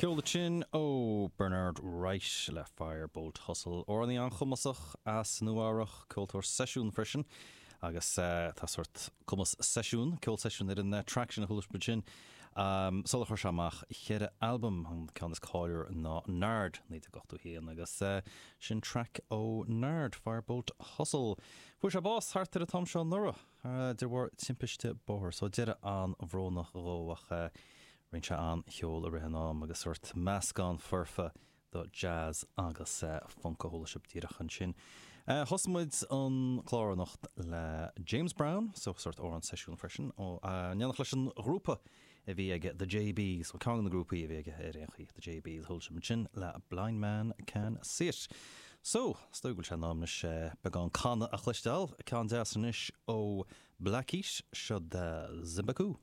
Ceol ansin ó Bernard Wright le Firebolt Hustle, amhránaí an-chumasach as Nua Eabhrach, ceoltóir seisiún freisin agus tá sórt cumas seisiún, ceol seisiún ar an traic sin a chuala sibh ansin. Sular chuir sé amach cheithre albam, an ceann is cáiliúla ná Nard, 1981 agus sin traic ó Nard, Firebolt Hustle. Fuair sé bás thart ar an t-am seo anuraidh de bharr timpiste bóthair, so deireadh an-bhrónach dhó ach Rinne sé an-cheol i rith an am agus sórt meascán foirfe do jazz agus funk a chuala sibh díreach ansin. Thosaigh muid an clár anocht le James Brown, so sórt amhrán seisiún freisin, in éineacht leis an ghrúpa a bhí aige The JBs, bhuel ceann de na grúpaí a bhí aige ar aon chaoi, The JBs, chuala sibh ansin le Blind Man Can See It. So, is dóigh go bhfuil sé in am anois beagán canadh a chloisteáil, ceann deas anois ó Black Heat, seo Zimbaku.